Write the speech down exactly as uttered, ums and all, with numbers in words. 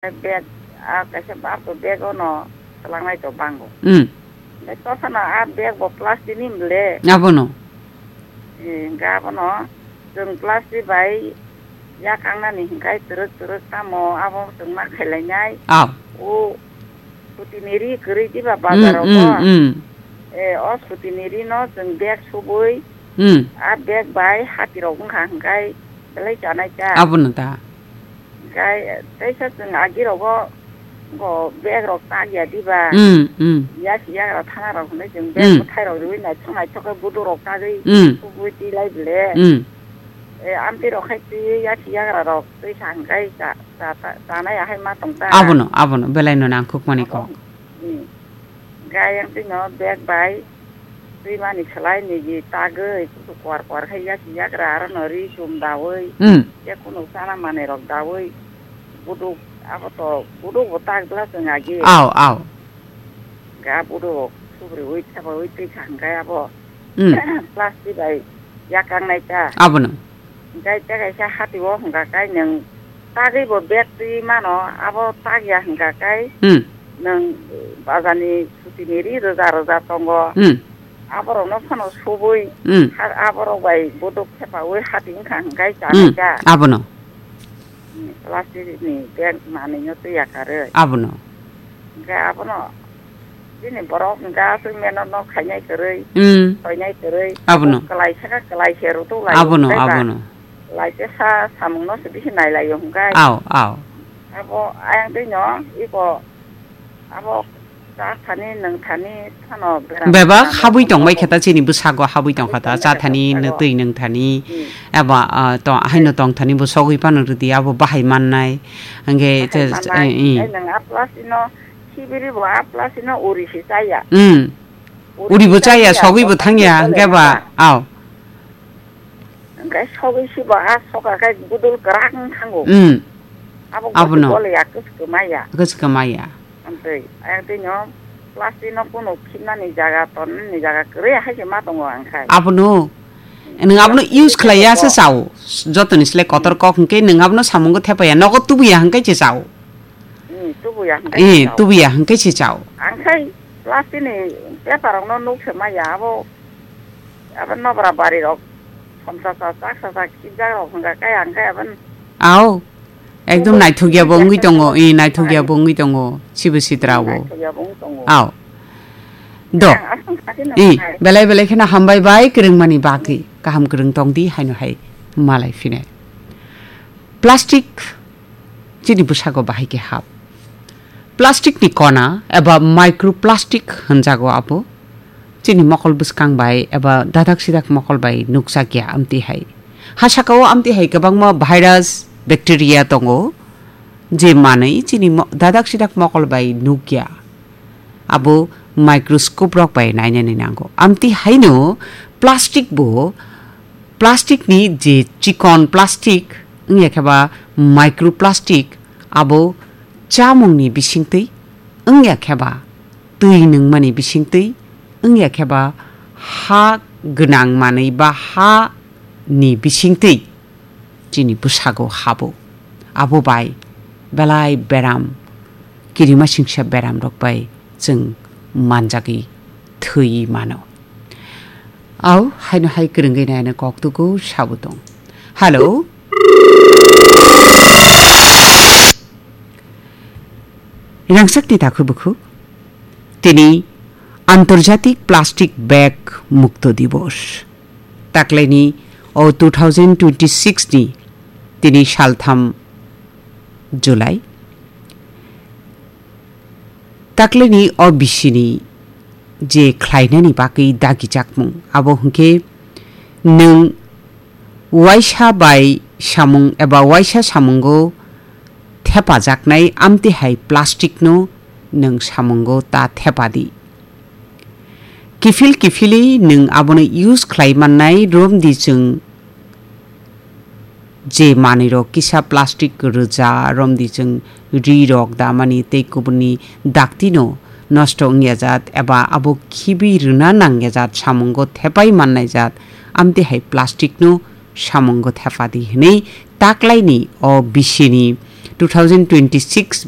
Bag, a kaisa bag to bag ono swlangnai to bango. Hmm. Bai tosa no a bag bo plastic ni mle. Abono. Eh, ga abono. Chwng plastic bai yakangnani hinkai twrwk twrwk tamo abo chwng ma khailainai. Aw. O scooty ni ri kwrwi diba bazar o. Hmm, hmm. Eh, o scooty ni ri no chwng bag subui. Hmm. A bag bai hati rok wngkha hinkai belai chanai ta. Abono ta. Gai, teisa chwng agi rogo, go bag rok tagya diba? Hmm, hmm. Yasi yagra thana rok hwnwi chwng bag Hmm. bwthai rok riwi naithok naithok khe buduk rok tagwi Hmm. subui tilai bele. Hmm. E, amtwi rok khai twi yasi yagra rok twi sa hwnkhai cha, cha, cha, chanai ahai ma tong ta. Abono, abono, belai no nangkuk mani Abo, kok. Hmm. Gai ang twi no bag bai twi mani swlai nigi tagwi kusu kwar kwar khai yasi yagra aro no ri chum dawi. Hmm. Ya kunu chana manwi rok dawi. Buduk abo to buduk bo tak bla chwng agi. Aw, aw. Ga buduk subri ui thaba ui twi kha hwnkhe abo. Hmm. Plastic bai yakang nai ta. Abono. Gai ta kaisa hati o hwnkha kai nwng tagwi bo bag twi mano abo tagya hwnkha kai. Hmm. Nwng bazar ni scooty ni ri rwja rwja tongo. Hmm. Aborok no phano subui. Hmm. Ha-, aborok bai buduk thepa ui hati wngkha hwnkhe Hmm. chanai ta. Abono. Plastic ni bag manwi no twi yakarwi. Abono. Hwnkhe abono chini borok hwnkhe aswk meno no khainai kwrwi, Hmm. khoinai kwrwi. Abono. Kwlai saka kwlai se rutuk lai Abono, hwnkhe ba. Abono. Lai se sa samung no se bisi nai lai hwnkhe. Aw, aw. Abo ayang twi no iko abo Cha thani, nwng thani, phano beram Bebak beram habwi rok tongbai tongma kheta chini bwsago habwi tongkha ta, cha thani, bwsago. Nwtwi nwng thani, Hmm. eba, ah, to, haino tong thani bo sogwi phano rwdi, abo bahai mannai. Hwnkhe Bahai te, mannai. Eh, eh. Tei nwng a plastic no sibiri bo a plastic no uri si chaya. Hmm. Uri Uri bo si chaya, chaya, sogwi bo bo thangya, thangya hwnkhe ba, ba. Aw. Hwnkhe sogwi sibo a soka khe budul kwrak wng thango. Hmm. Abo Abono. Gole ya, kwchwkma ya. Kwchwkma ya. Amtwi, ayang twi no plastic no kuno khibnani jaga, tonnani jaga kwrwi hai se ma tongo ang khai. Abono. Nwng abono Plastic use khlai ya se khe chao. Jotoni sle kotor kok hwnkhe nwng abono samungo thepa ya. Nogo tubu ya hwnkhe se chao. Hmm, tubu ya hwnkhe Eh, se chao. Tubu ya hwnkhe se chao. Ang khai plastic ni paper rok no nuk se ma ya abo. Abo nobra bari rok, somsasa, chaksasa, khibjak rok hwnkha khe ang khe abo. Aw, ekdom naithok ya bo wngwi tongo, eh, naithok ya bo wngwi tongo, sibo sitra o. Naithok ya bo wngwi tongo. Aw. Do. Ang aswk kha khe Eh, nang belai belai kheno hambai bai kwrwngmani bagwi. Kaham kwrwng tong di, haino hai malai phine. Plastic chini bwsago bahai khe hap. Plastic ni kona eba microplastic hwnjago abo. Chini mokol bwskang bai eba dadak sidak mokol bai nukjak ya amtwi hai. Ha saka o amtwi hai kwbangma virus, bacteria tongo, je manwi chini mo-, dadak sidak mokol bai nukya. Abo microscope rok bai nainani nango. Amtwi haino plastic bo, plastic ni je chikon plastic, wngya khe ba microplastic, abo chamung ni bisingtwi, wngya khe ba twi nungmani bisingtwi, wngya khe ba ha gwnang manwi ba ha ni bisingtwi. Chini bwsago habo. Abo bai belai beram, kirima singsa beram rok bai chwng manjagwi thwi mano. Au, haino hai kwrwngwi nai ano kok tugo sabo tong. Hello? Rangchakni takhuk bukhuk. Tini Antarjatik Plastic Bag Mukto Divos. Taklaini o two thousand twenty-six ni tini saltham July. Taklaini o bisini je khlainani bagwi dagijakmung, abo hwnkhe nwng waisa bai samung eba waisa samungo thepajaknai amtwi hai plastic no nwng samungo ta thepadi. Kiphil kiphilwi nwng abono use khlai mannai, romdi chwng je manwirok kisa plastic rwja, romdi chwng rirok damani tei kubunni daktino nosto wngya jat eba abo khibi rwna nangya jat samungo thepai mannai jat, amtwi hai plastic no samungo thepadi hwnwi taklaini o bisini two thousand twenty-six